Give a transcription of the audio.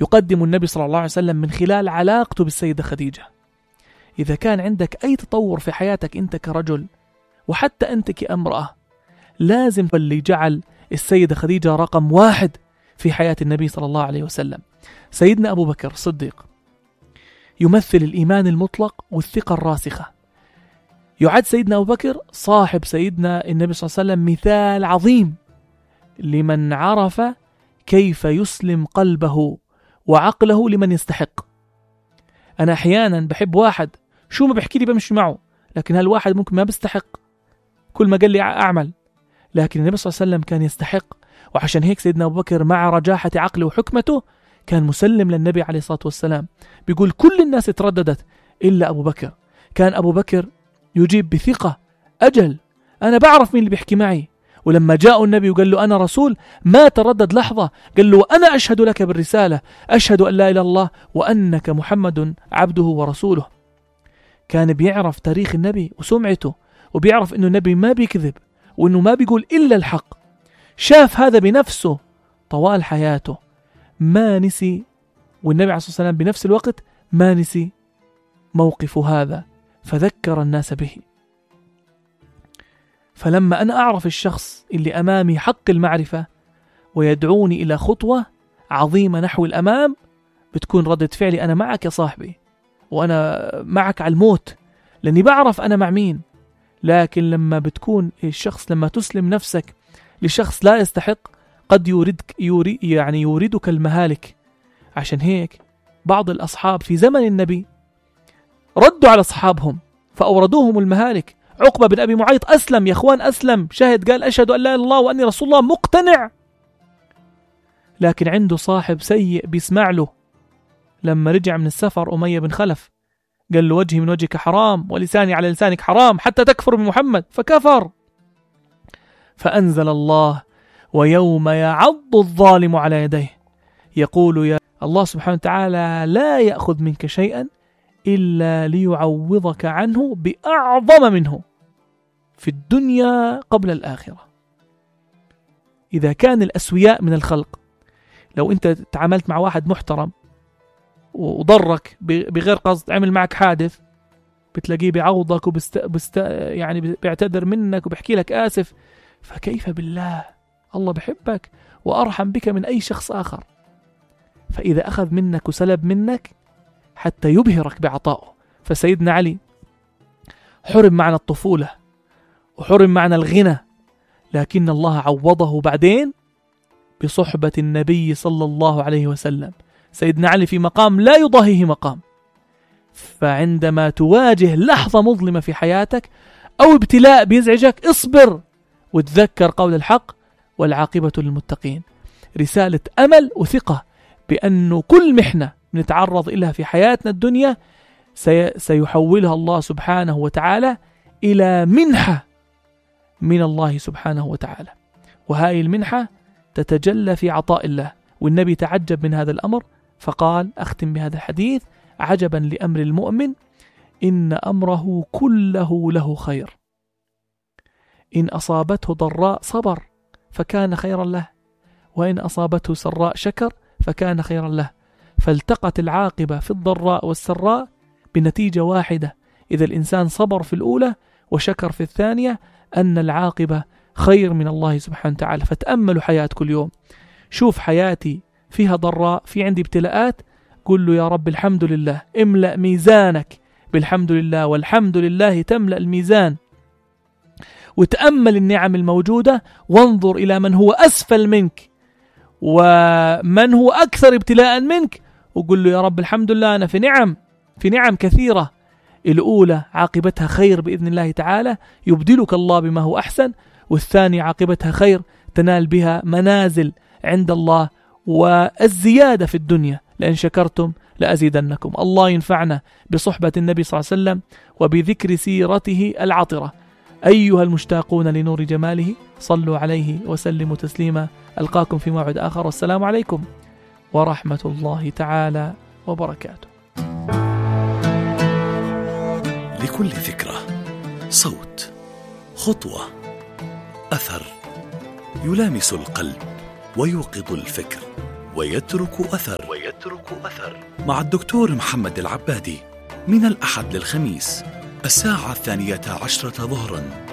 يقدم النبي صلى الله عليه وسلم من خلال علاقته بالسيدة خديجة. إذا كان عندك أي تطور في حياتك أنت كرجل وحتى أنت كامرأة، لازم اللي جعل السيدة خديجة رقم 1 في حياة النبي صلى الله عليه وسلم. سيدنا أبو بكر الصديق يمثل الإيمان المطلق والثقة الراسخة. يعد سيدنا أبو بكر صاحب سيدنا النبي صلى الله عليه وسلم مثال عظيم لمن عرف كيف يسلم قلبه وعقله لمن يستحق. أنا أحيانا بحب واحد شو ما بحكي لي بمشي معه، لكن هالواحد ممكن ما بيستحق، كل ما قال لي أعمل، لكن النبي صلى الله عليه وسلم كان يستحق. وعشان هيك سيدنا أبو بكر مع رجاحة عقله وحكمته كان مسلم للنبي عليه الصلاة والسلام. بيقول كل الناس ترددت إلا أبو بكر. كان أبو بكر يجيب بثقة، أجل أنا بعرف مين اللي بيحكي معي. ولما جاء النبي وقال له أنا رسول ما تردد لحظة، قال له أنا أشهد لك بالرسالة، أشهد أن لا إله إلا الله وأنك محمد عبده ورسوله. كان بيعرف تاريخ النبي وسمعته، وبيعرف أنه النبي ما بيكذب وأنه ما بيقول إلا الحق. شاف هذا بنفسه طوال حياته، ما نسي، والنبي عليه الصلاة والسلام بنفس الوقت ما نسي موقف هذا، فذكر الناس به. فلما أنا أعرف الشخص اللي أمامي حق المعرفة ويدعوني إلى خطوة عظيمة نحو الأمام، بتكون ردة فعلي أنا معك يا صاحبي، وأنا معك على الموت، لأني بعرف أنا مع مين. لكن لما بتكون الشخص، لما تسلم نفسك لشخص لا يستحق، قد يوردك المهالك. عشان هيك بعض الأصحاب في زمن النبي ردوا على أصحابهم فأوردوهم المهالك. عقبة بن أبي معيط أسلم يا أخوان، أسلم، شهد، قال أشهد أن لا إله إلا الله وأني رسول الله، مقتنع، لكن عنده صاحب سيء بيسمع له. لما رجع من السفر أمية بن خلف قال له وجهي من وجهك حرام ولساني على لسانك حرام حتى تكفر بمحمد، فكفر. فأنزل الله ويوم يعض الظالم على يديه يقول يا الله سبحانه وتعالى لا يأخذ منك شيئا إلا ليعوضك عنه بأعظم منه في الدنيا قبل الآخرة. إذا كان الأسوياء من الخلق، لو أنت تعاملت مع واحد محترم وضرك بغير قصد، عمل معك حادث، بتلاقيه بيعوضك يعني بيعتذر منك وبيحكي لك آسف. فكيف بالله، الله بحبك وأرحم بك من أي شخص آخر. فإذا أخذ منك وسلب منك حتى يبهرك بعطائه. فسيدنا علي حرم معنا الطفولة وحرم معنا الغنى، لكن الله عوضه بعدين بصحبة النبي صلى الله عليه وسلم. سيدنا علي في مقام لا يضاهيه مقام. فعندما تواجه لحظة مظلمة في حياتك أو ابتلاء بيزعجك، اصبر وتذكر قول الحق والعاقبة للمتقين. رسالة أمل وثقة بأنه كل محنة نتعرض إليها في حياتنا الدنيا سيحولها الله سبحانه وتعالى إلى منحة من الله سبحانه وتعالى، وهذه المنحة تتجلى في عطاء الله. والنبي تعجب من هذا الأمر فقال، أختم بهذا الحديث: عجبا لأمر المؤمن إن أمره كله له خير، إن أصابته ضراء صبر فكان خيرا له، وإن أصابته سراء شكر فكان خيرا له. فالتقت العاقبة في الضراء والسراء بنتيجة واحدة: إذا الإنسان صبر في الأولى وشكر في الثانية، أن العاقبة خير من الله سبحانه وتعالى. فتأملوا حياة كل يوم، شوف حياتي فيها ضراء، في عندي ابتلاءات، قل له يا رب الحمد لله، املأ ميزانك بالحمد لله، والحمد لله تملأ الميزان. وتأمل النعم الموجودة وانظر إلى من هو أسفل منك ومن هو أكثر ابتلاء منك، وقل له يا رب الحمد لله أنا في نعم كثيرة، الأولى عاقبتها خير بإذن الله تعالى يبدلك الله بما هو أحسن، والثانية عاقبتها خير تنال بها منازل عند الله والزيادة في الدنيا، لأن شكرتم لأزيدنكم. الله ينفعنا بصحبة النبي صلى الله عليه وسلم وبذكر سيرته العطرة. أيها المشتاقون لنور جماله، صلوا عليه وسلموا تسليما. ألقاكم في موعد آخر، والسلام عليكم ورحمة الله تعالى وبركاته. لكل ذكرى صوت، خطوة، أثر يلامس القلب ويوقظ الفكر ويترك أثر. يترك أثر مع الدكتور محمد العبادي من الأحد للخميس 12:12 ظهراً